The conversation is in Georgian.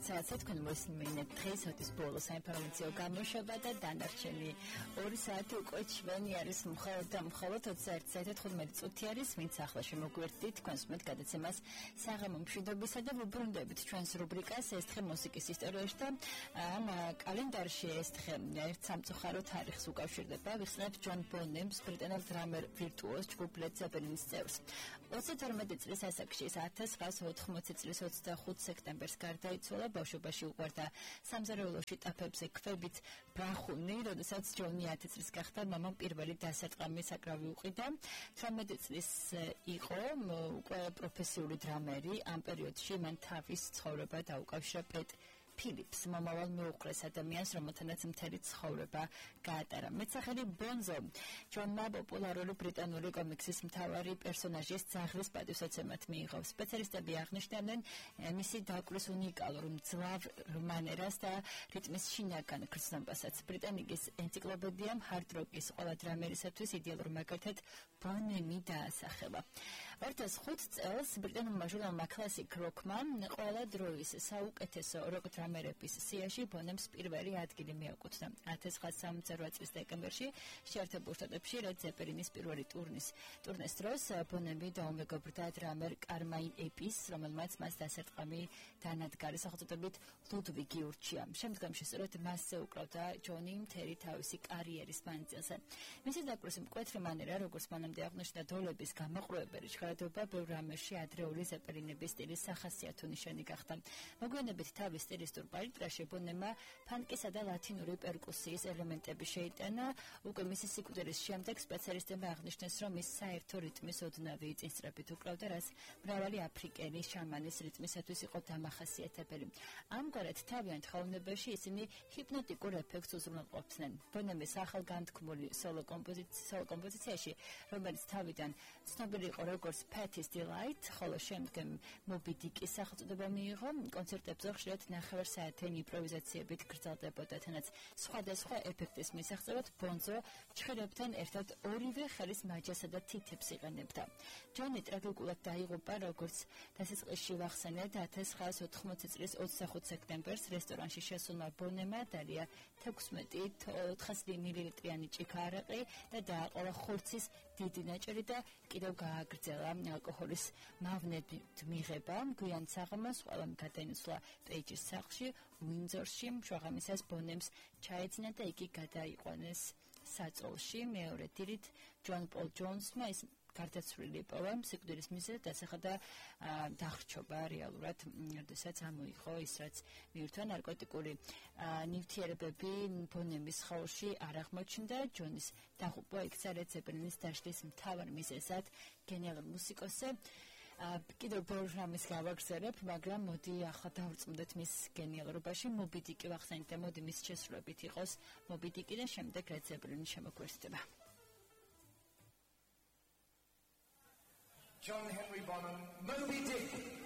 საათზე თქვენ მოსმენთ დღეს ოდის ბოლო საინფორმაციო გამოშვება და დანარჩენი 2 საათი უკვე ჩვენი არის მხოლოდ 21:15 წუთი არის, ვინც ახლა შემოგვერთდით თქვენს მეტ გადაცემას საღამო მშვიდობისა და ვუბრუნდებით ჩვენს რუბრიკას ეს დღე მუსიკის ისტორიაში და ამ კალენდარში ეს დღე ერთ სამწუხარო თარიღს უკავშირდება. ვიხსენებთ ჯონ ბონემს, ბრიტანელ დრამერ ვირტუოზ ჯგუფ Led Zeppelin-ის წევრს. 22 წლის ასაკში 1980 წლის 25 სექტემბერს გარდაიცვალა. ბავშვობაში უყვარდა სამზარეულოში ტაფებზე ქვებით ბრახუნი, როდესაც ჯონი 10 წლის გახდა, მამამ პირველი დასარტყამი საკრავი უყიდა. 18 წლის იყო უკვე პროფესიული დრამერი. ამ პერიოდში მან თავის ცხოვრება დაუკავშირა პეტ ფილიპს, მომავალ მეუღლეს ადამიანს, რომელთანაც მთელი ცხოვრება გაატარა. მეტსახელი ბონზო ჯონმა პოპულარული ბრიტანული კომიქსის მთავარი პერსონაჟის ძაღლის პატივსაცემად მიიღო. სპეციალისტები აღნიშნავენ მისი დაკვრის უნიკალურ მძლავრ მანერას და რიტმის შინაგან გრძნობასაც. ბრიტანიკის ენციკლოპედიამ ჰარდ როკის ყველა დრამერისათვის იდეალურ მაგალითად ბონემი დაასახელა. 2005 წელს ბრიტანულმა ჟურნალმა Classic Rock-მა ყველა დროის საუკეთესო როკ დრამერების სიაში ბონემს პირველი ადგილი მიაკუთვნა. 1968 წლის დეკემბერში შეერთებულ შტატებში Led Zeppelin-ის პირველი ტურნეს დროს ბონემი დაუმეგობრდა დრამერ კარმაინ ეპის, რომელმაც მას დასარტყამი დანადგარი სახელწოდებით ლუდვიგი ურჩია. შემდგომში სწორედ მასზე უკრავდა ჯონი მთელი თავისი კარიერის მანძილზე. მისი დაკვრის მკვეთრი მანერა, როგორც მანამდე აღნიშნა დოლების გამოყრუებელი ჟღერადობა ბევრ რამეში ადრეული ზეპელინების სტილის სახასიათო ნიშანი გახდა. მოგვიანებით თავის სტილისტურ პალიტრაში ბონემმა ფანკისა და ლათინური პერკუსიის ელემენტები შეიტანა. უკვე მისი სიკვდილის შემდეგ სპეციალისტებმა აღნიშნეს, რომ ის საერთო რიტმის ოდნავი წინსწრებით უკრავდა, რაც მრავალი აფრიკელი შამანის რიტმისათვის იყო დამახასიათებელი. ამგვარად თავიანთ ხელოვნებაში ისინი ჰიპნოტიკურ ეფექტს უზრუნველყოფდნენ. ბონემის ახალგანთქმული სოლო კომპოზიციაში, რომელიც თავიდან ცნობილი იყო როგორც Patty's Delight, ხოლო შემდგომ Moby Dick-ის სახელწოდება მიიღო, კონცერტებზე ხშირად ნახევარსაათიანი იმპროვიზაციებით გრძელდებოდა, თანაც სხვადასხვა ეფექტის მისაღწევად ბონზო ჩხერებთან ერთად ორივე ხელის მაჯასა და თითებს იყენებდა. ჯონი ტრაგიკულად დაიღუპა, როგორც დასაწყისში ვახსენეთ, 1980 წლის 25 სექტემბერს რესტორანში შესულმა ბონემმა დალია 16 მილilitrიანი ჭიქა არაყი და დააყოლა ხორცის დიდი ნაჭერი და კიდევ გააგრძელა ალკოჰოლის მავნებით მიღება. გვიან საღამოს ყველამ გადაინაცვლა პეიჯის სახლში უინძორში. შუაღამისას ბონემს ჩაეძინა და იგი გადაიყვანეს საწოლში. მეორე დილით ჯონ პოლ ჯონსმა ის გარდაცვლილი პოვა, სიკვდილის მიზეზად დასახა დახრჩობა რეალურად, როდესაც ამოიღო ის, რაც მიირთვა ნარკოტიკული ნივთიერებები ბონემის სხეულში არ აღმოჩნდა. ჯონის დაღუპვა იქცა Led Zeppelin-ის დაშლის მთავარ მიზეზად. გენიალური მუსიკოსი კიდევ ბევრ რამეს გავაგრძელებ, მაგრამ მოდი ახლა დავრწმუნდეთ მის გენიალურობაში. Moby Dick-ი ვახსენეთ და მოდი მის შესრულებით იყოს Moby Dick-ი და შემდეგ Led Zeppelin-ი შემოგვერთდება. John Henry Bonham, Moby Dick.